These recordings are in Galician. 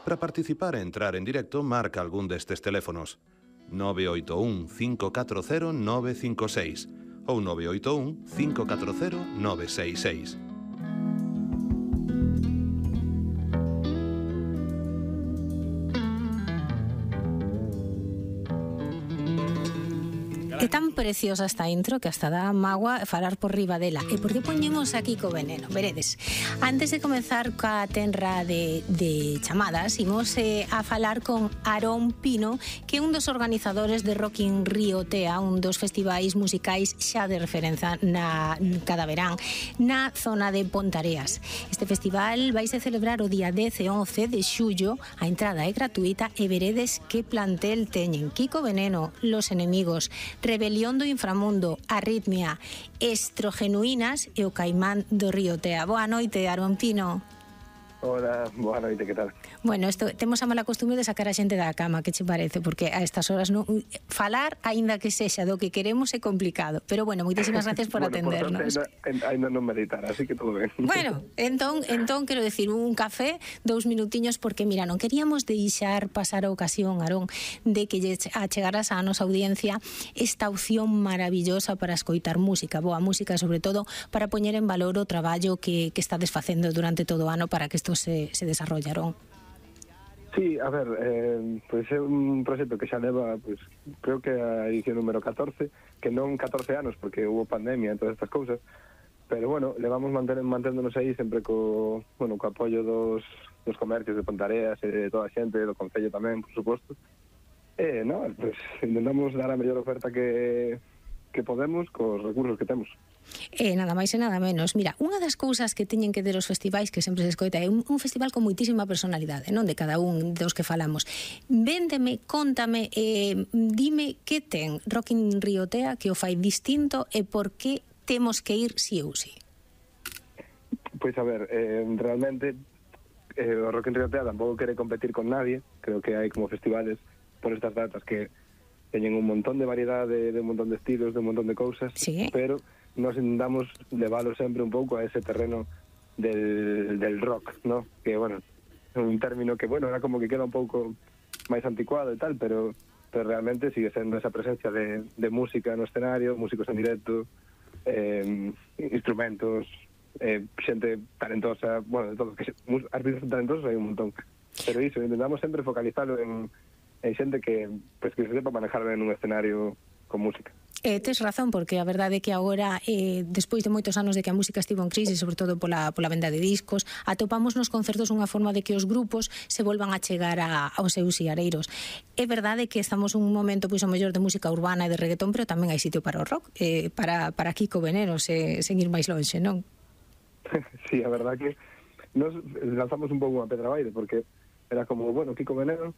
Para participar e entrar en directo, marca algún destes teléfonos: 981 540 956 ou 981 540 966. É tan preciosa esta intro que hasta dá mágoa falar por riba dela. E por que poñemos aquí co veneno? Veredes, antes de comenzar coa tenra de chamadas, imos a falar con Aarón Pino, que é un dos organizadores de Rock in Rio Tea, un dos festivais musicais xa de referencia cada verán na zona de Pontareas. Este festival vaise celebrar o día 10 e 11 de xullo, a entrada é gratuita e veredes que plantel teñen: Kiko Veneno, Los Enemigos, Rebelión do Inframundo, Arritmia, Estrogenuínas e o Caimán do Río Tea. Boa noite, Aarón Pino. Hola, boa noite, que tal? Bueno, temos a mala costumbre de sacar a xente da cama, que che parece? Porque a estas horas falar, aínda que sexa do que queremos, é complicado. Pero bueno, moitísimas gracias por atendernos. Ainda non meditar, así que todo ben. Bueno, entón, quero decir, un café, 2 minutiños, porque, mira, non queríamos deixar pasar a ocasión, Aarón, de que achegaras á nosa audiencia esta opción maravillosa para escoitar música, boa música, sobre todo para poñer en valor o traballo que estades facendo durante todo o ano para que isto se desarrollaron. Sí, a ver, pois é un proxecto que xa leva, pois, creo que a edición número 14, que non 14 anos, porque hubo pandemia e todas estas cousas, pero bueno, levamos manténdonos aí sempre co apoio dos comercios de Pontareas e de toda a xente, do concello tamén, por suposto. Pois intentamos dar a mellor oferta que podemos cos recursos que temos. Nada máis e nada menos. Mira, unha das cousas que teñen que ter os festivais, que sempre se escoita, é un festival con moitísima personalidade, non? De cada un dos que falamos. Véndeme, contame, dime que ten Rock in Rio Tea que o fai distinto e por que temos que ir si ou si. Pois a ver, realmente o Rock in Rio Tea tampouco quere competir con nadie. Creo que hai como festivales por estas datas que teñen un montón de variedade, de un montón de estilos, de un montón de cousas, sí, pero nos intentamos leválo sempre un pouco a ese terreno del rock, ¿no? Que, bueno, é un término que, bueno, era como que queda un pouco máis anticuado e tal, pero realmente sigue sendo esa presencia de música no escenario, músicos en directo, instrumentos, xente talentosa, bueno, de todo, artistas talentosos hai un montón. Pero iso, intentamos sempre focalizarlo en xente que se sepa manejar ben un escenario con música. Tes razón, porque a verdade é que agora, despois de moitos anos de que a música estivo en crise, sobre todo pola venda de discos, atopamos nos concertos unha forma de que os grupos se volvan a chegar aos seus siareiros. É verdade que estamos un momento, pois, o mellor de música urbana e de reggaetón, pero tamén hai sitio para o rock, para Kiko Veneno, sen ir máis lonxe, non? Sí, a verdade que nos lanzamos un pouco unha pedra baile, porque era como, bueno, Kiko Veneno,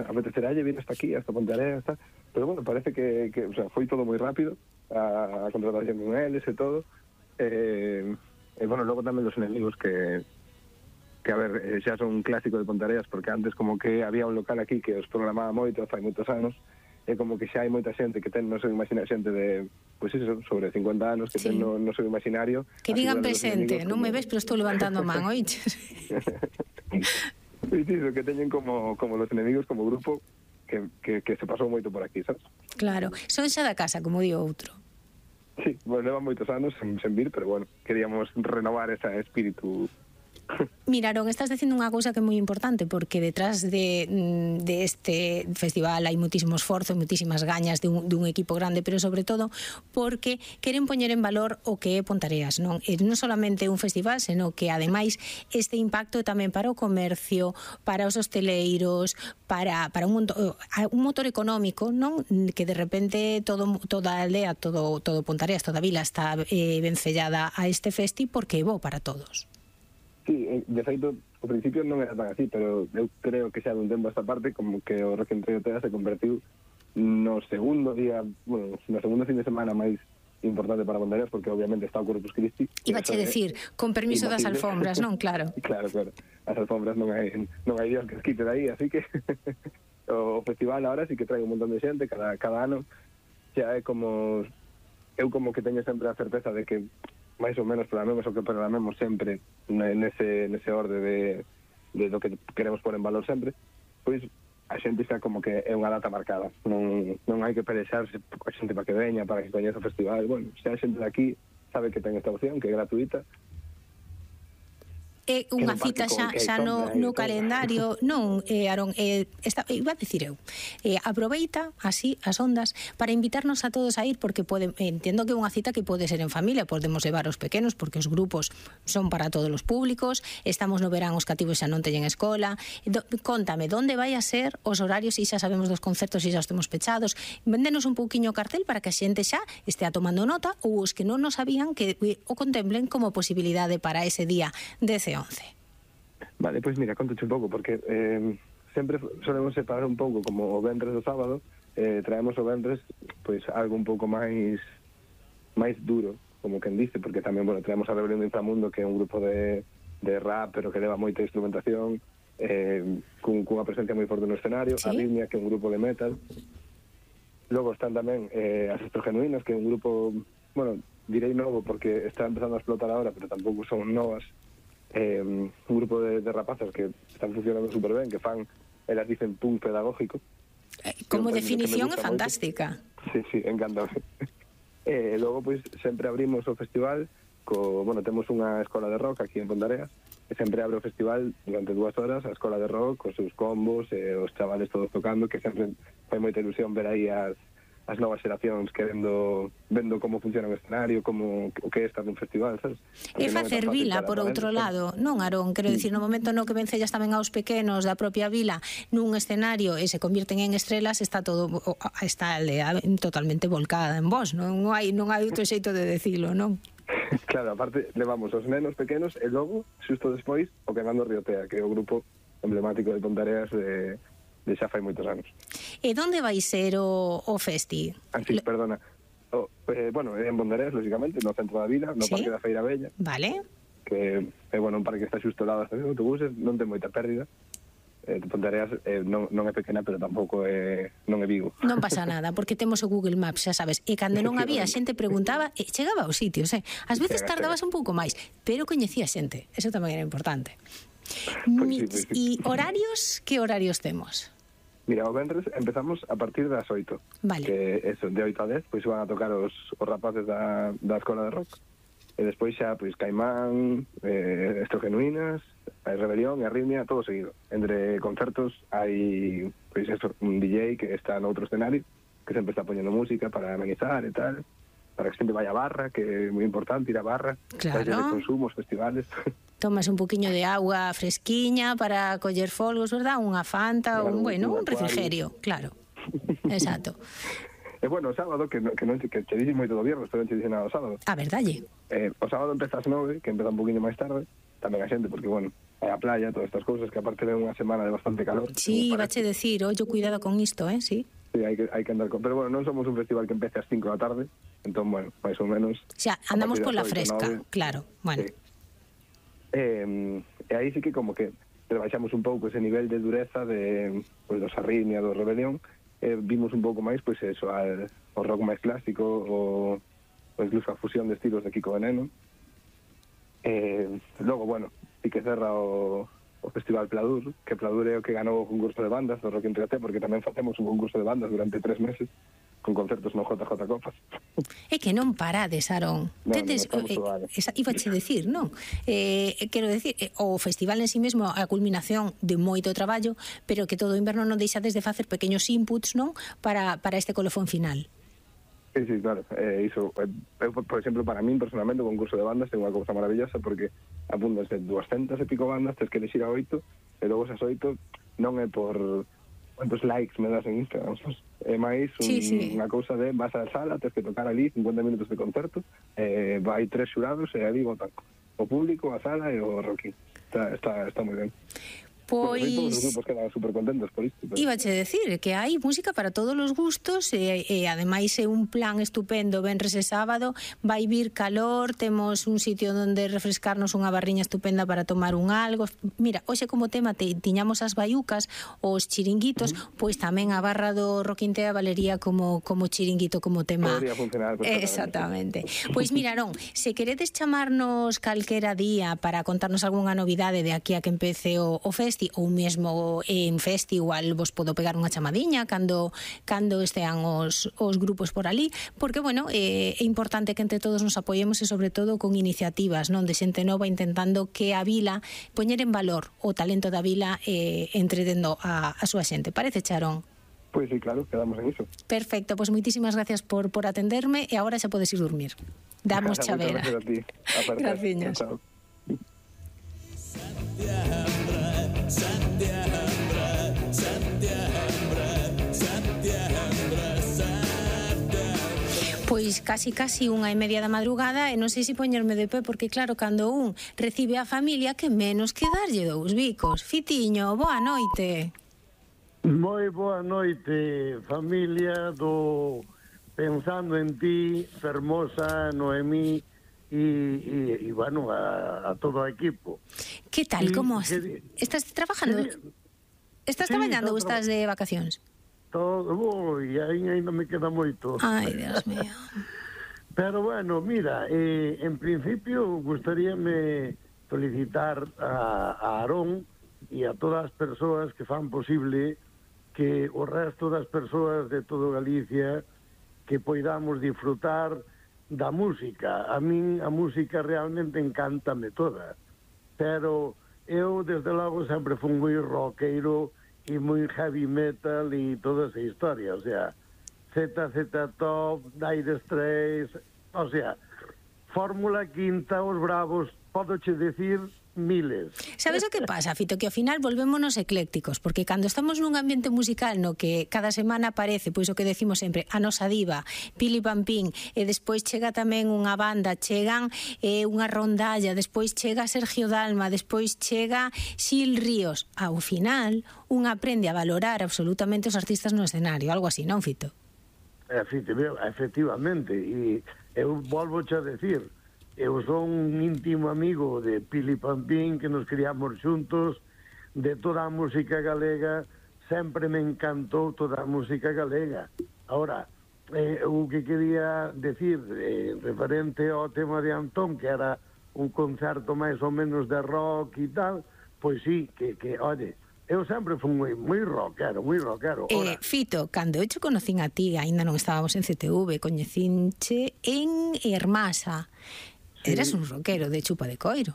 apeteceralle vir hasta aquí, hasta Pontareas, pero bueno, parece que o sea, foi todo moi rápido, a contratación con eles e todo, bueno, logo tamén Los Enemigos que a ver, xa son un clásico de Pontareas, porque antes como que había un local aquí que os programaba moito, fai moitos anos, e como que xa hai moita xente que ten no seu imaginario, xente de, pois iso, sobre 50 anos, que ten no seu imaginario. Que digan presente, non me ves, pero estou levantando a man, oiches? Que teñen como Los Enemigos, como grupo que se pasou moito por aquí, sabes? Claro, son xa da casa, como di outro. Sí, bueno, levan moitos anos sen vir, pero bueno, queríamos renovar ese espírito. Mira, Aarón, estás dicindo unha cousa que é moi importante, porque detrás de este festival hai moitísimo esforzo, moitísimas gañas dun equipo grande, pero sobre todo porque queren poñer en valor o que é Pontareas, non? E non solamente un festival, senón que ademais este impacto tamén para o comercio, para os hosteleiros, para un motor económico, non? Que de repente toda a aldea, todo Pontareas, toda a vila está vencellada a este festi porque é bo para todos. Sí, de feito, ao principio non era tan así, pero eu creo que xa dun tempo a esta parte, como que o Rock in Rio Tea se convertiu no segundo día, bueno, no segundo fin de semana máis importante para Pontareas, porque obviamente está o Corpus Christi. Ibache decir, con permiso das alfombras, non? Claro. Claro. As alfombras non hai Dios que as quite de aí, así que o festival ahora sí que trae un montón de xente cada ano. Xa é como, eu como que teño sempre a certeza de que máis ou menos programemos o que programemos sempre nese orde do que queremos pôr en valor sempre, pois a xente está como que é unha data marcada, non hai que pelexarse a xente para que veña, para que coñeza o festival. Bueno, se a xente de aquí sabe que ten esta opción, que é gratuita, é unha cita xa no calendario, non, Aarón, iba a dicir eu, aproveita así as ondas para invitarnos a todos a ir, porque entendo que é unha cita que pode ser en familia, podemos levar os pequenos, porque os grupos son para todos os públicos, estamos no verán, os cativos xa non teñen escola. Contame, onde vai a ser os horarios, e xa sabemos dos concertos e xa os temos pechados, véndenos un pouquiño o cartel para que a xente xa estea tomando nota, ou os que non nos sabían que o contemplen como posibilidade para ese día 10 e 11. Vale, pois mira, contoche un pouco, porque sempre solemos separar un pouco como o vendres do sábado, traemos o vendres pois algo un pouco máis duro, como quen dice, porque tamén, bueno, traemos a Rebelión do Inframundo, que é un grupo de rap, pero que leva moita instrumentación, cunha presencia moi forte no escenario, ¿sí? Arritmia, que é un grupo de metal. Logo están tamén as Estrogenuinas, que é un grupo, bueno, direi novo porque está empezando a explotar ahora, pero tampouco son novas. Un grupo de rapazas que están funcionando super ben, que fan, elas dicen punk pedagógico. Como definición é fantástica. Sí, encantado. Logo, pois, sempre abrimos o festival bueno, temos unha escola de rock aquí en Ponteareas, e sempre abre o festival durante 2 horas, a escola de rock, cos seus combos, os chavales todos tocando, que sempre fai moita ilusión ver aí as novas xeracións vendo como funciona o escenario, como o que é estar nun festival, sabes? E facer vila, por outro lado, non, Aarón? Quero dicir, no momento no que vencellas tamén aos pequenos da propia vila nun escenario e se convirten en estrelas, está a aldea totalmente volcada en vos, non hai outro xeito de decilo, non? Claro, aparte, levamos os nenos pequenos e logo, xusto despois, o Queimando Riotea, que é o grupo emblemático de Ponteareas de xa fai moitos anos. E onde vai ser o festi? Sí, perdona. Bueno, en Ponteareas, lógicamente, no centro da vila, no Parque da Feira Bella. Vale. Que é, bueno, un parque que está xusto ao lado das estacións de autobuses, non ten moita pérdida. Ponteareas non é pequena, pero tampouco non é Vigo. Non pasa nada, porque temos o Google Maps, xa sabes, e cando non había, a xente preguntaba e chegaba aos sitios, Ás veces tardabas un pouco máis, pero coñecía xente, eso tamén era importante. Pues sí. E horarios, que horarios temos? Mira, o vendres empezamos a partir das 8. Vale. Que eso, de 8 a 10, pois van a tocar os rapaces da escola de rock. E despois xa, pois, Caimán, Estrogenuinas, a Rebelión e Arritmia, todo seguido. Entre concertos hai, pois, eso, un DJ que está no outro escenario, que sempre está poñendo música para amenizar e tal, para que xente vaya a barra, que é moi importante ir a barra, claro. De consumos, festivales. Tomas un poquinho de agua fresquiña para coller folgos, verdad? Unha Fanta, claro, un refrigerio, claro. Exacto. E bueno, o sábado, que che dixen moito do viernes, pero non che dixen nada o sábado. A verdade. O sábado empeza ás 9, que empeza un poquinho máis tarde, tamén a xente, porque, bueno, é a playa, todas estas cousas, que aparte de unha semana de bastante calor. Sí, vache decir, ollo, cuidado con isto, sí. Sí, hai que andar con... Pero, bueno, non somos un festival que empece ás 5 da tarde, entón, bueno, máis ou menos... Xa, andamos pola fresca, 9, claro, bueno. Sí. E aí sí que como que rebaixamos un pouco ese nivel de dureza de, pues, dos Arritmia, do Rebelión, vimos un pouco máis, pois, eso, ao rock máis clásico, ou incluso a fusión de estilos de Kiko Veneno. Logo, bueno, sí que cerra o Festival Pladur, que Pladur é o que ganou o concurso de bandas do Rock en Riaté, porque tamén facemos un concurso de bandas durante 3 meses, con concertos no JJ Copas. É que non parades, Aarón. Ibache decir, non? Quero decir, o festival en sí mesmo é a culminación de moito traballo, pero que todo o inverno non deixades de facer pequenos inputs, non? Para este colofón final. Sí, claro. Iso, por exemplo, para min, personalmente, o concurso de bandas é unha cousa maravillosa, porque apuntas de 200 e pico bandas, tens que elegir a 8, e logo esas 8 non é por quantos likes me das en Instagram, é máis unha cousa de vas á sala, tens que tocar ali 50 minutos de concerto, vai 3 xurados e ali votan o público, a sala e o Rocky. Está moi ben. Todos os Pois grupos quedan super contentos por isto. Ibache decir que hai música para todos os gustos e ademais é un plan estupendo. Venres e sábado vai vir calor, temos un sitio onde refrescarnos, unha barriña estupenda para tomar un algo. Mira, hoxe como tema tiñamos as baiucas, os chiringuitos, pois tamén a barra do Roquintea valería como chiringuito, como tema. Podría funcionar perfectamente. Exactamente. Pois miraron, se queredes chamarnos calquera día para contarnos algunha novidade de aquí a que empece o festi, ou mesmo en festi igual vos podo pegar unha chamadiña cando estean os grupos por ali, porque, bueno, é importante que entre todos nos apoyemos e, sobre todo, con iniciativas, non, de xente nova intentando que a vila, poñer en valor o talento da vila entretendo a súa xente. Parece, Charón? Pois sí, claro, quedamos en iso. Perfecto, pois moitísimas gracias por atenderme e agora xa podes ir dormir. Damos chavera. Muchas gracias a ti. Graciñas. Chao. Pois casi 1:30 da madrugada e non sei se poñerme de pé porque, claro, cando un recibe a familia, que menos que darlle 2 bicos. Fitiño, boa noite. Moi boa noite, familia do Pensando en Ti, Fermosa, Noemí e bueno, a todo o equipo. Que tal, como estás trabajando? Estás traballando ou estás de vacacións? Todo, ainda me queda moito. Ai, Dios mío. Pero bueno, mira, en principio gustaríame felicitar a Aarón e a todas as persoas que fan posible que o resto das persoas de todo Galicia que poidamos disfrutar da música. A min a música realmente encántame toda, pero eu desde logo sempre fui moi rockero e moi heavy metal e toda esa historia, o sea, ZZ Top, Dire Straits, o sea, Fórmula Quinta, os Bravos, podoche decir miles. Sabes o que pasa, Fito? Que ao final volvémonos eclécticos, porque cando estamos nun ambiente musical no que cada semana aparece, pois o que decimos sempre, a nosa diva, Pili Pampín, e despois chega tamén unha banda, chegan unha rondalla, despois chega Sergio Dalma, despois chega Xil Ríos. Ao final, un aprende a valorar absolutamente os artistas no escenario, algo así, non, Fito? Efectivamente, e eu volvo a decir, eu son un íntimo amigo de Pili Pampín, que nos criamos xuntos, de toda a música galega, sempre me encantou toda a música galega. Ahora, o que quería decir, referente ao tema de Antón, que era un concerto máis ou menos de rock e tal, pois sí, que oye, eu sempre fui moi rockero. Fito, cando eu te conocín a ti, aínda non estábamos en CTV, coñecinche en Hermasa. Eras un rockero de chupa de coiro.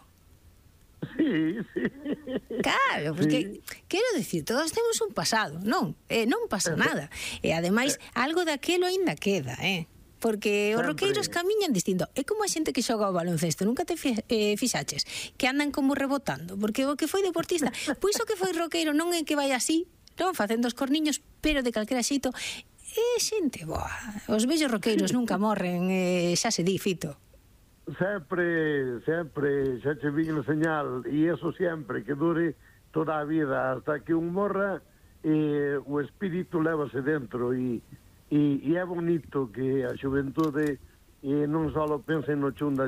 Sí. Claro, porque quero dicir, todos temos un pasado, non? Non pasa nada. E ademais, algo daquelo aínda queda, porque os roqueiros camiñan distinto. É como a xente que xoga o baloncesto, nunca te fixaches que andan como rebotando, porque o que foi deportista, pois o que foi roqueiro non é que vai así, non, facendo os corniños, pero de calquera xeito é xente boa. Os vellos roqueiros nunca morren, xa se di, Fito. Sempre, xa che vin o señal, e eso sempre, que dure toda a vida, hasta que un morra, o espírito lévase dentro, e é bonito que a xuventude non só pense no chunda,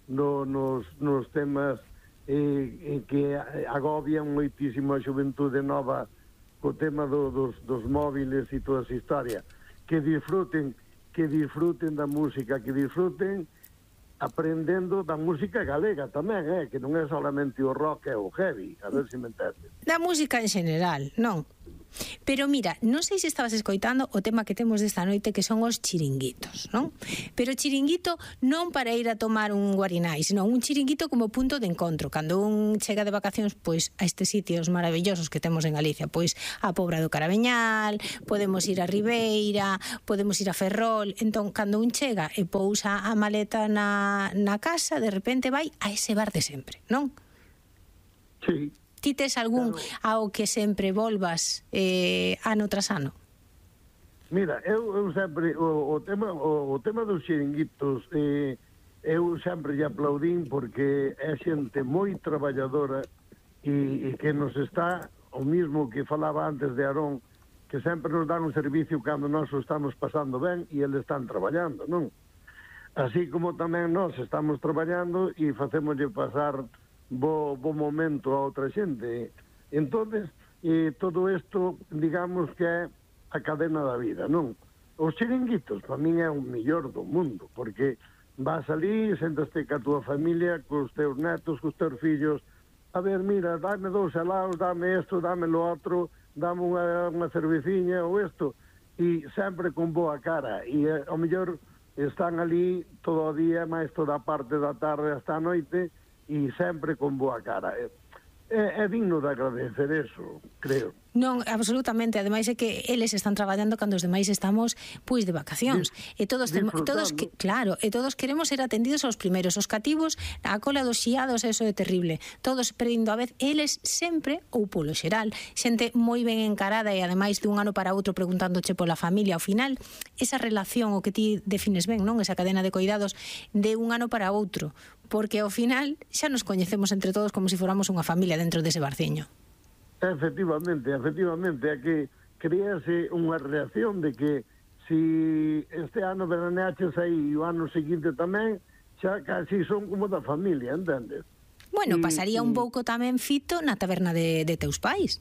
nos temas que agobian moitísimo a xuventude nova, co tema dos móviles e toda esa historia, que disfruten da música, que disfruten aprendendo da música galega tamén, que non é solamente o rock e o heavy, a ver se me entendes. Da música en general, non? Pero mira, non sei se estabas escoitando o tema que temos desta noite, que son os chiringuitos, non? Pero chiringuito non para ir a tomar un guarinai, senón un chiringuito como punto de encontro. Cando un chega de vacacións, pois a estes sitios maravillosos que temos en Galicia, pois a Pobra do Caraveñal, podemos ir a Ribeira, podemos ir a Ferrol. Entón, cando un chega e pousa a maleta na casa, de repente vai a ese bar de sempre, non? Sí. Ti tes algún ao que sempre volvas ano tras ano? Mira, eu sempre o tema dos xiringuitos, eu sempre lle aplaudín porque é xente moi traballadora e que nos está, o mismo que falaba antes de Aarón, que sempre nos dan un servicio cando nós o estamos pasando ben e eles están traballando, non? Así como tamén nós estamos traballando e facémoslle pasar bo momento a outra xente. Entonces, todo isto, digamos que é a cadena da vida, non? Os chiringuitos, para min, é o mellor do mundo, porque vas ali, sentaste ca túa familia, cos teus netos, cos teus fillos, a ver, mira, dame 2 helados, dame isto, dame lo outro, dame unha cerveciña ou isto, e sempre con boa cara, e ao mellor están ali todo o día, máis toda a parte da tarde hasta a noite, e sempre con boa cara. É digno de agradecer eso, creo. Non, absolutamente, ademais é que eles están traballando cando os demais estamos pois de vacacións. E todos claro, e todos queremos ser atendidos aos primeiros, os cativos, a cola dos xiados, eso é terrible. Todos perdendo a vez, eles sempre ou polo xeral, xente moi ben encarada e ademais dun ano para outro preguntándoche pola familia, ao final esa relación o que ti defines ben, non? Esa cadena de cuidados de un ano para outro, porque ao final xa nos coñecemos entre todos como se fóramos unha familia dentro dese barciño. Efectivamente, é que crease unha reacción de que si este ano veraneaches aí e o ano seguinte tamén, xa casi son como da familia, entendes? Bueno, pasaría un pouco tamén, Fito, na taberna de teus pais.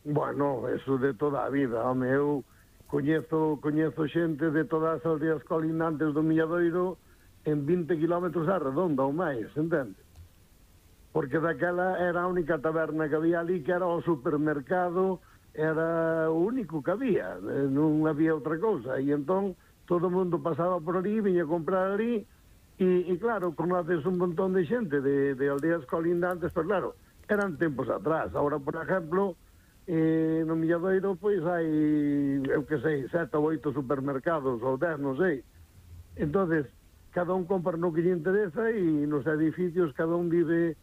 Bueno, eso de toda a vida, home, eu coñezo xente de todas as aldeas colindantes do Milladoiro en 20 kilómetros á redonda ou máis, entendes? Porque daquela era a única taberna que había ali, que era o supermercado, era o único que había, non había outra cousa, e entón todo o mundo pasaba por ali, viña a comprar ali, e claro, conoces un montón de xente de aldeas colindantes, pero claro, eran tempos atrás. Ahora, por exemplo, no Milladoiro, pois hai, eu que sei, 7 ou 8 supermercados, ou 10, non sei. Entonces, cada un compra no que lle interesa, e nos edificios cada un vive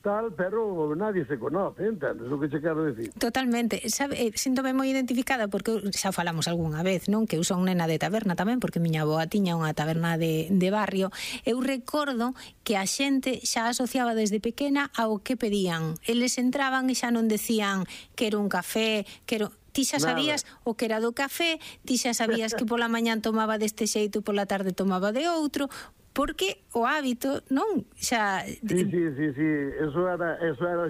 tal, pero nadie se conoce, entendes o que che quero decir? Totalmente, sabe, síntome moi identificada porque xa falamos algunha vez, non? Que eu son nena de taberna tamén, porque miña avoa tiña unha taberna de barrio. Eu recordo que a xente xa asociaba desde pequena ao que pedían. Eles entraban e xa non decían quero un café, quero... Ti xa sabías o que era do café, ti xa sabías que pola mañán tomaba deste xeito e pola tarde tomaba de outro, porque o hábito, non? Xa... Sí, eso era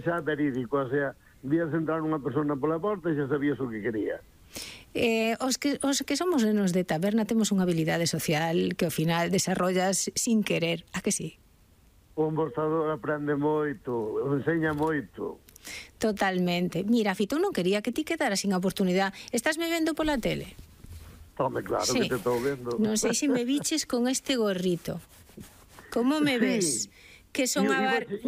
xa verídico, o sea, vías entrar unha persona pola porta e xa sabías o que quería. Os que somos nenos de taberna temos unha habilidade social que ao final desarrollas sin querer, a que sí? O embostador aprende moito, enseña moito. Totalmente. Mira, Fito, non quería que ti quedaras sin oportunidade. Estás me vendo pola tele? Home, claro, sí. Que te estou vendo. Non sei se me biches con este gorrito. Como me ves? Que son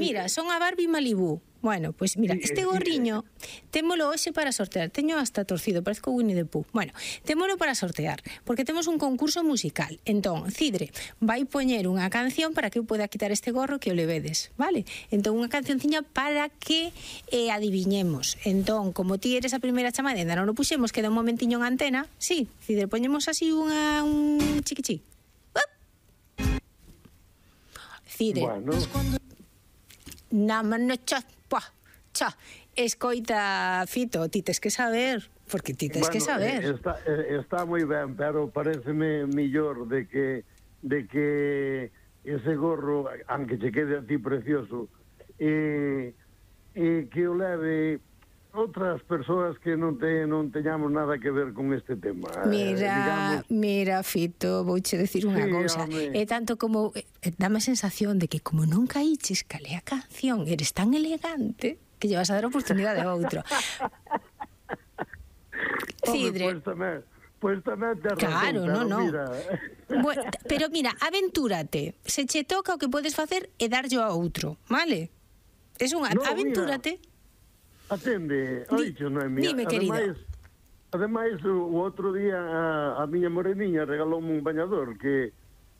mira, son a Barbie Malibu. Bueno, pois mira, este gorriño témolo hoxe para sortear. Teño hasta torcido, parezco Winnie the Pooh. Bueno, témolo para sortear, porque temos un concurso musical. Entón, Cidre vai poñer unha canción para que eu poida quitar este gorro que o levedes, vale? Entón, unha cancionciña para que adiviñemos. Entón, como ti eres a primeira chamada e ainda non o puxemos, queda un momentiño en antena. Sí, Cidre, poñemos así un chiquichí. Cidre. Bueno. Escoita, Fito, ti tes que saber, porque ti tes que saber. Está moi ben, pero pareceme millor de que ese gorro, aunque che quede a ti precioso, que o leve outras persoas que non teñamos nada que ver con este tema. Mira, Fito, vouche decir unha cousa. É tanto como dame a sensación de que como non caíches calé a canción, eres tan elegante que lle vas a dar oportunidade a outro. Cidre. Pois tamén te razón. Claro, non. Mira. Bueno, pero mira, aventúrate. Se che toca, o que podes facer é darlle a outro, vale? Es unha aventúrate. Mira. Atende, oixo, Noemia. Dime, querida. Ademais, o outro día a miña moreniña regaloume un bañador que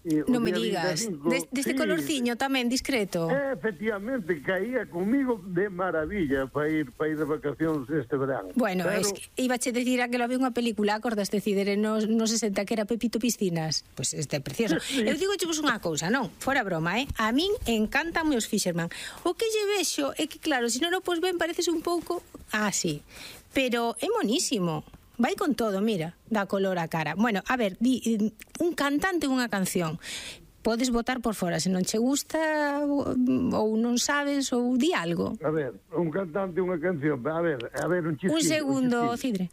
Non me digas, deste colorciño tamén, discreto. Efectivamente, caía comigo de maravilla para ir de vacacións este verán. Bueno, pero... es que ibache decir a que lo vi unha película, acordas de Cidere no 60 que era Pepito Piscinas? Pois pues este é precioso. Sí. Eu digo vos unha cousa, non? Fora broma, A min encantan os Fisherman. O que lle vexo é que, claro, se non o pos ben, pareces un pouco así. Pero é monísimo. Vai con todo, mira, dá color á cara. Bueno, a ver, un cantante unha canción. Podes votar por fora, se non che gusta ou non sabes, ou di algo. A ver, un cantante unha canción. A ver, un chisquillo. Un segundo, Cidre.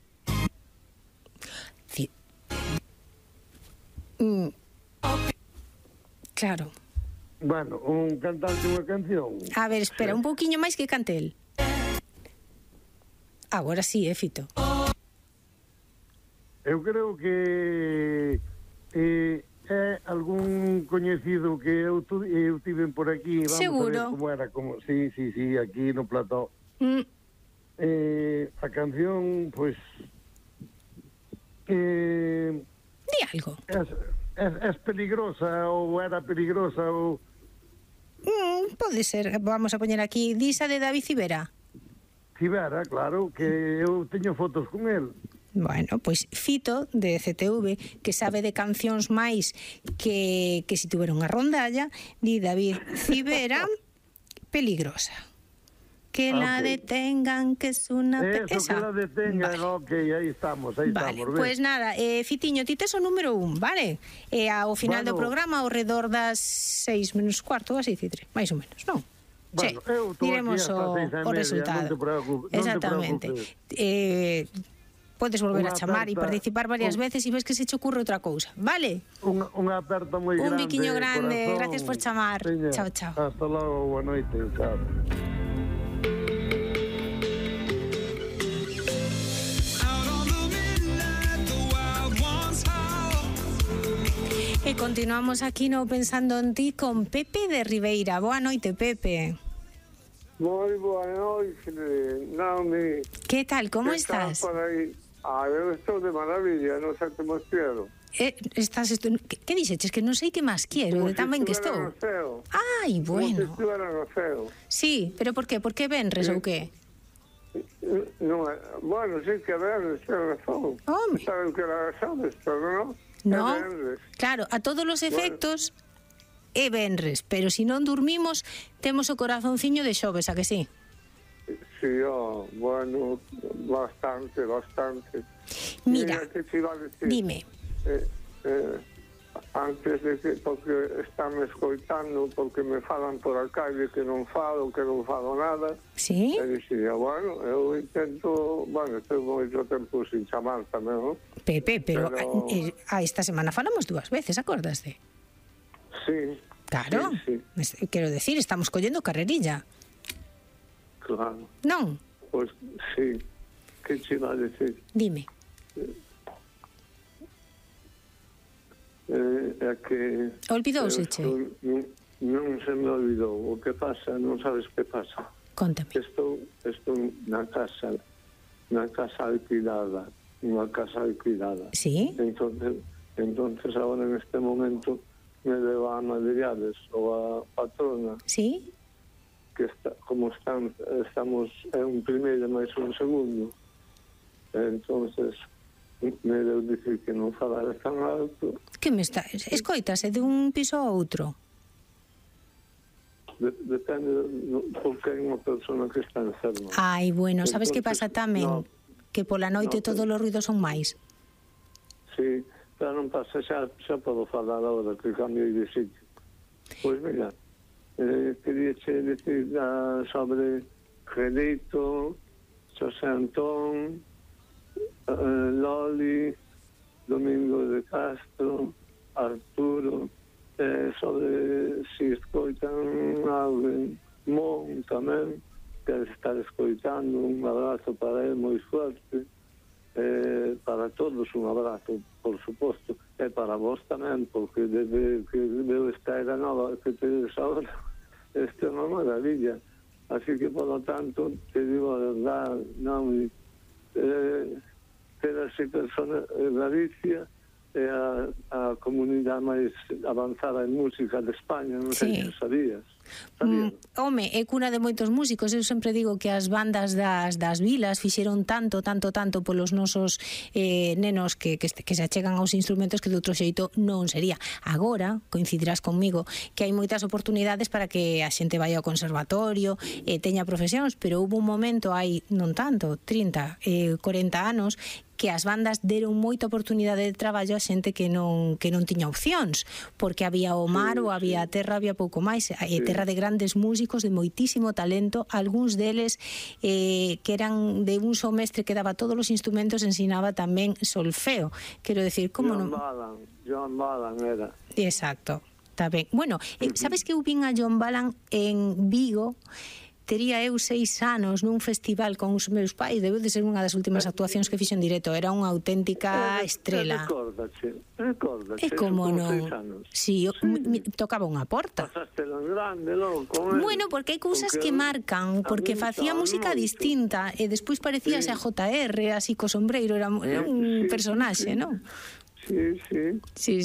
Claro. Bueno, un cantante unha canción. A ver, espera, un pouquiño máis que cante el. Agora sí, Fito. Eu creo que é algún coñecido que eu tiven por aquí. Vamos seguro. A ver como era. Sí, aquí no plató. A canción, pois... Di algo. Es peligrosa ou era peligrosa ou... Pode ser, vamos a poñer aquí Disa de David Civera. Civera, claro, que eu teño fotos con el. Bueno, pois Fito, de CTV, que sabe de cancións máis que si tuvera unha rondalla, di David Civera, peligrosa. Que la detengan, que es una... Eso, que la detengan, vale. Ok, aí estamos, vale. Pois nada, Fitiño, ti tes o número 1, vale? Ao final do programa, ao redor das 6 menos cuarto, así, Cidre, máis ou menos, non? Bueno, eu diremos o resultado. Non te preocupes. Exactamente. Podes volver a chamar e participar varias veces e ves que se che ocurre outra cousa, vale? Unha aperta moi grande. Un biquiño grande, corazón. Gracias por chamar. Seña. Chao, chao. Hasta logo, boa noite, chao. E continuamos aquí no Pensando en Ti con Pepe de Ribeira. Boa noite, Pepe. Moi boa noite, Naomi. Que tal, como estás? Eu estou de maravilla, non sei que máis quero. Que dixeches? Que non sei que máis quero, de tan ben que estou. Ai, bueno. Como se estivera no ceo. Sí, pero por qué? Por que venres ou que? Non, bueno, sí que venres, ten razón. Home. Saben que era sabes, pero non. No, claro, a todos os efectos é venres, pero se non dormimos temos o corazonciño de xoves, a que sí? Sí, bueno, bastante. Mira, que te iba a decir? Dime. Antes de que, porque están escoitando, porque me falan por a calle que non falo nada. Sí? E dixía, bueno, eu intento, bueno, estou moito tempo sin chamar tamén, non? Pepe, pero esta semana falamos 2 veces, acordaste? Sí. Claro, sí. Quero decir, estamos collendo carrerilla. Claro. Non? Pois, sí. Que che iba a decir? Dime. É que... Olvidouse-che? Non se me olvidou. O que pasa, non sabes que pasa. Contame. Estou na casa alquilada. Unha casa alquilada. Sí? Entonces agora en este momento me debo a Madriades ou a patrona. Sí? Que estamos en un primeiro máis un segundo. Entonces me deu dicir que non falara tan alto. Que me está... Escoitase de un piso a outro? Depende porque hai unha persona que está enferma. Ai, bueno, sabes que pasa tamén? Que pola noite todos os ruidos son máis. Sí, pero non pasa, xa podo falar agora que cambio de sitio. Pois mira, quería che decir sobre Gelito, Xosé Antón, Loli, Domingo de Castro, Arturo, sobre si escoitan alguén, Mon tamén, que estar escoitando, un abrazo para ele moi fuerte, para todos un abrazo, por suposto, e para vos tamén, porque desde que veo esta era nova que tedes ahora, esta é unha maravilla. Así que, por lo tanto, te digo a verdad, non, ter así persona en Galicia, é a comunidade máis avanzada en música de España, non sei se sabías. Home, é cuna de moitos músicos. Eu sempre digo que as bandas das vilas fixeron tanto polos nosos nenos que se achegan aos instrumentos que de outro xeito non sería. Agora, coincidirás conmigo, que hai moitas oportunidades para que a xente vai ao conservatorio, teña profesións, pero houve un momento hai non tanto, 30, 40 anos, que as bandas deron moita oportunidade de traballo a xente que non tiña opcións, porque había o mar ou había a terra, había pouco máis, terra de grandes músicos de moitísimo talento, algúns deles que eran de un só mestre que daba todos os instrumentos, ensinaba tamén solfeo. Quero decir, como non... John Balan era. Exacto, está ben. Bueno, sabes que eu vin a John Balan en Vigo? Tería eu 6 anos nun festival con os meus pais, debe de ser unha das últimas actuacións que fixo en directo, era unha auténtica estrela. Recórdache. E como non? Si, tocaba unha porta. Pasaste en grande, loco. Bueno, porque hai cousas que marcan, porque facía música distinta, e despois parecíase a JR, así co sombreiro, era un personaxe, non? Sí.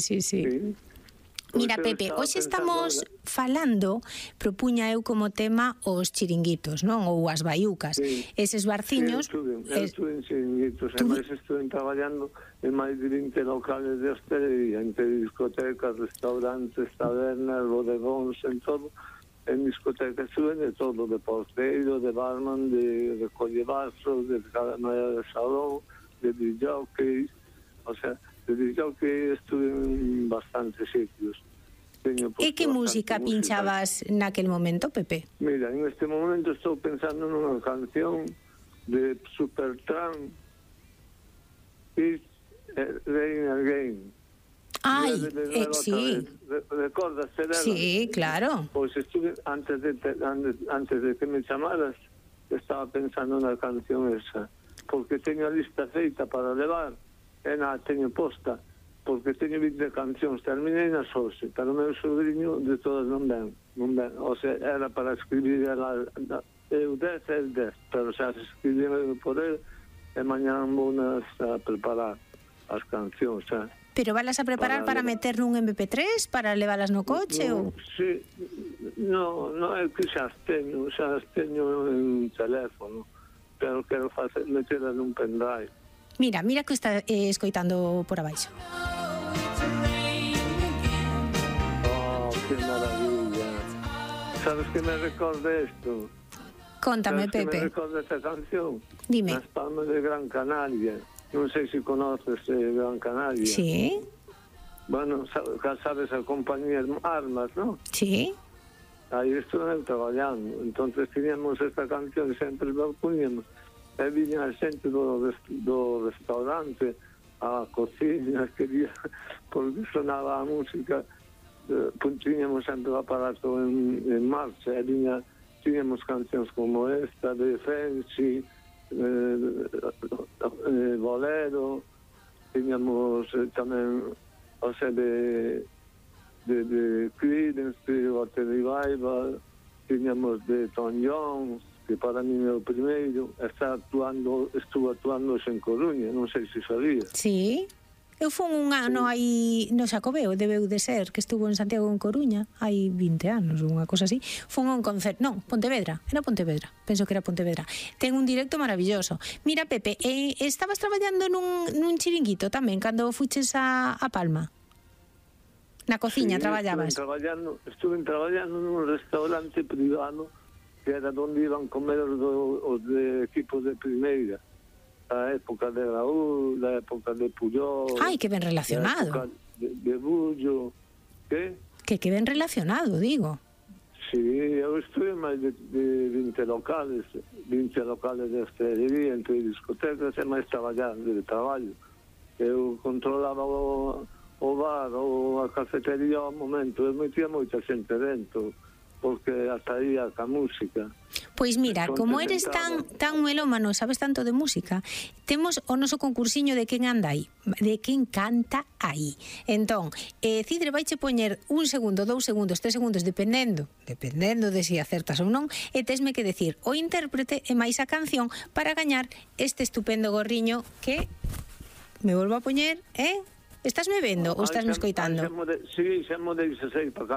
Mira, Pepe, hoxe estamos falando, propuña eu como tema os chiringuitos, non? Ou as baiucas. Eses barciños... Eu estuve en chiringuitos, además estuve traballando en máis de 20 locales de hostelería, entre discotecas, restaurantes, tabernas, bodegóns, en todo. En discotecas estuve de todo, de porteiro, de barman, de recolle vasos, de camarera de salón, de disjockey, o sea... Digo que estuve en bastantes sitios. E que música pinchabas naquel momento, Pepe? Mira, en este momento estou pensando nunha canción de Supertramp, It's Rain Again. Ai, sí. Recordas dela? Sí, claro. Pois estuve, antes de que me chamaras, estaba pensando na canción esa, porque teño a lista feita para levar, teño posta, porque teño 20 cancións, terminei nas 11, pero o meu sobrinho de todas non ven, o sea, era para escribir eu 10, pero xa se escribir por el, e mañan vou a preparar as cancións, xa. Pero valas a preparar para meter nun MP3, para levalas no coche, ou? Sí, non é que xa as teño en teléfono, pero quero meterlas nun pendrive. Mira que está escoitando por abaixo. Oh, que maravilla. Sabes que me recorda isto? Contame, Pepe. Que me recorda esta canción? Dime. Las Palmas de Gran Canaria. Non sei se conoces Gran Canaria. Sí. Bueno, sabes a compañía Armas, ¿no? Sí. Aí estuve traballando. Entonces teníamos esta canción, sempre la poníamos. E viña a xente do restaurante, a cociña, quería, porque sonaba a música, tiñamos sempre o aparato en marcha, e tiñamos cancións como esta, de Fenci, Bolero, tiñamos tamén, o sea, de Creedence, Clearwater Revival, tiñamos de Tom Jones, que para mí é o primeiro, estuvo actuando en Coruña, non sei se sabía. Sí, eu fui un ano aí no Xacobeo, debeu de ser, que estuvo en Santiago en Coruña, hai 20 anos, unha cosa así. Fui un concerto, non, Pontevedra, penso que era Pontevedra. Ten un directo maravilloso. Mira, Pepe, estabas traballando nun chiringuito tamén, cando fuches a Palma? Na cociña traballabas? Estuve traballando nun restaurante privado, que era onde iban comer os de equipos de primeira, a época de Raúl, a época de Puyol. Ai, que ben relacionado. De Bullo, que? Que ben relacionado, digo. Sí, eu estuve máis de 20 locales de hostelería, entre discotecas, e máis traballando de traballo. Eu controlaba o bar ou a cafetería ao momento, eu metía moita xente dentro, porque ata aí a música. Pois mira, como eres tan melómano, sabes tanto de música, temos o noso concursiño de quen anda aí, de quen canta aí. Entón, Cidre vaiche poñer 1 segundo, 2 segundos, 3 segundos, dependendo de si acertas ou non, e tesme que decir o intérprete e máis a canción para gañar este estupendo gorriño que me volvo a poñer, Estás me vendo ou estás me escoitando? Sí, xa mo deixe para cando